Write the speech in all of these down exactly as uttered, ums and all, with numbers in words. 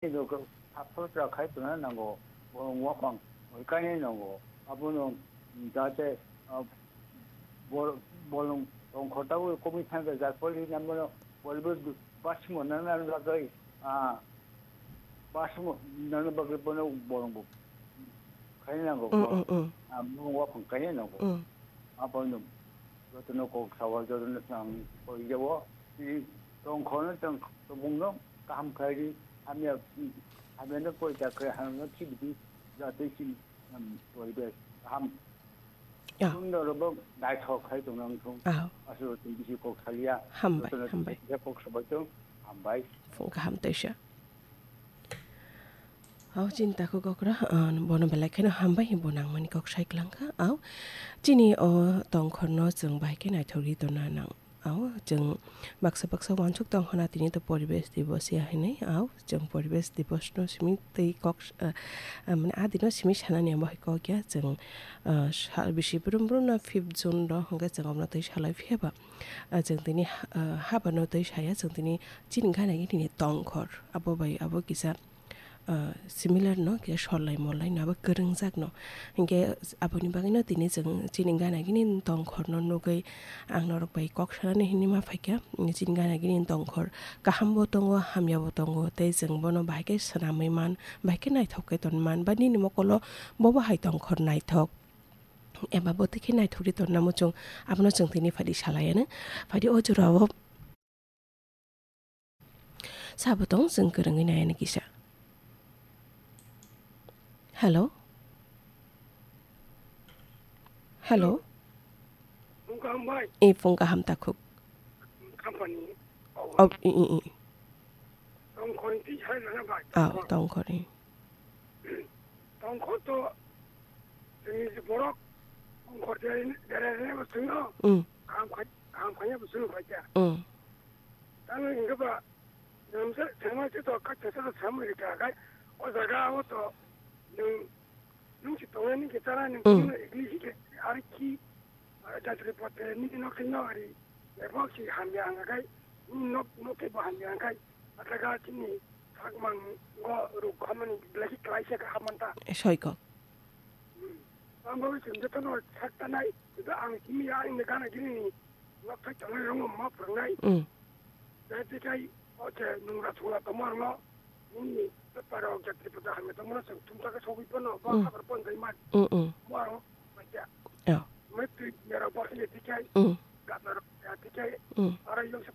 Nokha, saphuru chwla khai tongna nango, borok waphang oi kainai nango. Abono, mm, jate, ah, bor-, bolong tongkhor tabuk komwi thangkha, jar pholi nangmano boribo basimo nangna bagwi, ah, basimo nangna bagwi bono bolongbo khai nango, Mm, mm, mm. Ah, borok waphang kainai nango. Mm. Abono jotono kok sao, jotono ang koi jabo, tini tongkhorno tong-, tongmungno kaham khlai di, hamya, hamyano poita khlai, hamyano khibi di, jate chini, um, poribesh kaham. Ya. Sundor bo naithok khai tongna wngthung. Ah. Aswk tong bisi kok salia. Hambai, jotono hambai. Kok sabai tong, hambai. Phung kaham teisa. Hao, chini takhuk okra, ah, bono belai kheno hambai, bo nangmani kok sai klangkha. Ao, chini o tongkhorno chwng bahai khe naithok ri tongna nang. Ao, chwng baksa baksa uansuk tong hwna tini to poribesh dibosi ya hinwi. Ao, chwng poribesh dibosno simi twi kok, ah, ah, mane, a dino simi sanani amo hai kok ya. Chwng, ah, sal bisi brum brumno fifth June ro hwnkhe chwng omno twi salai phiya ba. Ah, chwng tini, ah, habano twi saya, chwng tini chini gana gini tongkhor. Abo bai abo kisa ah, similar no, khe solai molai no abo kwrwngjak no. Hinkhe aboni bagwi no tini chwng chini gana gini tongkhor no nugwi ang norok bai kok sanani hinwi ma phaikha. Chini gana gini tongkhor kaham bo tongo, hamya bo tongo, tei chwng bono bahai khe swnamwi man, bahai khe naithok khe ton man, ba nini mokolo bobo hai tongkhor naithok. Eba bo tei khe naithok ri tonna muchung, abono chwng tini phaidi salai ano. Phaidi o jora o. Sabo tong chwng kwrwngwi nai ani kisa. Hello? Hello? Phung kaham bai. E, phung kaham takhuk. Company. Oh, i, i, i. Tongkhor ni twi sai rwna bai. Ah, tongkhor. Tongkhor ni. Tongkhor to chwngni je borok tongkhor de-, dererene bo chwngno. Mm. Kaham khai-, kaham khaiya bo chwngno khaikha. Mm. Tamo hingke ba, nwng se, thangma se to, kha, thangsa to samui rikha, khai, o jaga o to, nwng, nwng si tongnai nini khe chanai, nwng Mm. chini English khe, ari khi, ah, jatri pote, nini nok khe no ari, ebo si hamya ang khai, nini nok, nok khe bo hamya ang khai, athaga chini sakmang go ruk hamani belai khe klaisa kha hamanta. Soiko. Ang bagwi chwng jotono sak tanai, tei ang simi ya, ani gana gini ni nok thai tongnai rokno ma phwrwngnai. Mm. Tei tei kai, o che nungra thungla tongma rokno, nini paper rok jatri pata hamya tongmano chwng thumsa khe sogwi phano, bo Mm. habar pon tei man. Mm, mm. Mo aro, ma kya. Oh. Me twi ya rok bo khe tei kai, Mm. gana rok ya tei kai, Mm. aro yong se,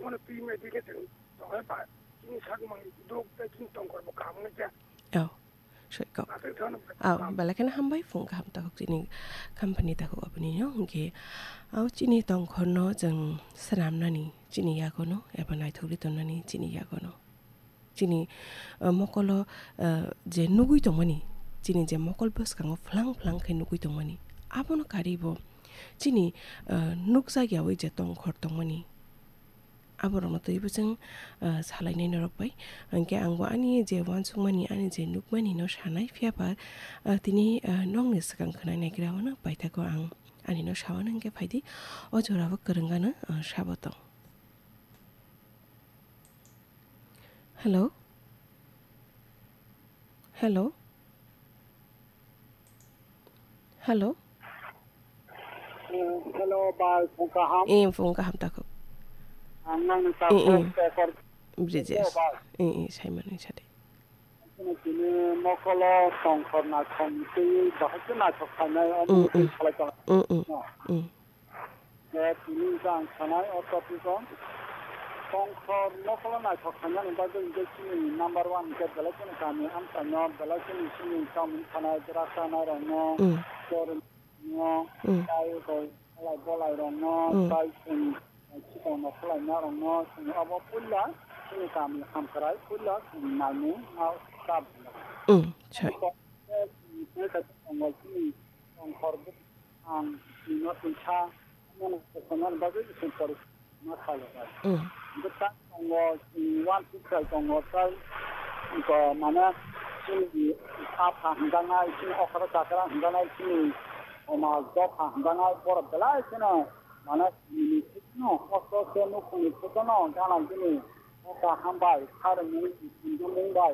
mo twi me tei kai chwng, tongmani ba, chini sak mang dok tei chini tongkhor bo kaham wngya. Oh. Soiko. Aw, belai kheno hambai, phung kaham takhuk chini company takhuk aboni no, hwnkhe, aw, chini tongkhorno chwng swnamnani chini yagono, eba naithok ri tonnani chini yagono. Chini, uh, mokolo, uh, je nugwi tongmani, chini je mokol bwskango phlang phlang khe nugwi tongmani, abono karwi bo chini, uh, nukjak yaui je tongkhor tongmani, aborokno twibo chwng, ah, salainai norok bai. Hinkhe angbo ani je uansukmani, ani je nukmani no sanai, phiya ba, ah, tini, ah, nokni swkang khwnai naigra o no paithago ang ani no sao no, hinkhe phaidi o jora o kwrwng gano, ah, sabo tong. Hello? Hello? Hello? Eh, hello, bai, phung kaham. Eh, phung kaham takhuk. Ang nang ni Eh, eh. Takhuk, eh, kor- Bridges. Hello, bai. Eh, eh, Simon, eh, sade. Tini, tini mokolo tongkhor naithok twi bahai khe naithok khainai, omo Mm, twi mm. salai tong. Mm, mm. No. Mm. Eh, tini jang sanai o topic o. Tongkhor mokolo naithok khainani bagwi hwnkhe chini number one hwnkhe belai kheno kami amchaino, belai kheno chini chamung sanai, drug chanai rokno, Mm. chor rokno, Mm. tai rok, halai bolai rokno, Mm. tai chwng chikon rok khwlaina rokno, chwng obo puila chini kami hamkrai, puila chwng naimung ma chap. Mm, sai. Tongkhor chini tongkhor ang nino tongsa, mano kosonan bagwi ising pori ma khayo. Mm. Bwsa tongo, mm, one six five tongo, tai, ko, mane, chini apha hwnjaknai, chini okra chakra hwnjaknai, chini, oma, dopha hwnjaknai, borok belai kheno, mane, chini, no, kosto se nukhungni photo no, gana gini, okra hambai, kharmung, mung bai,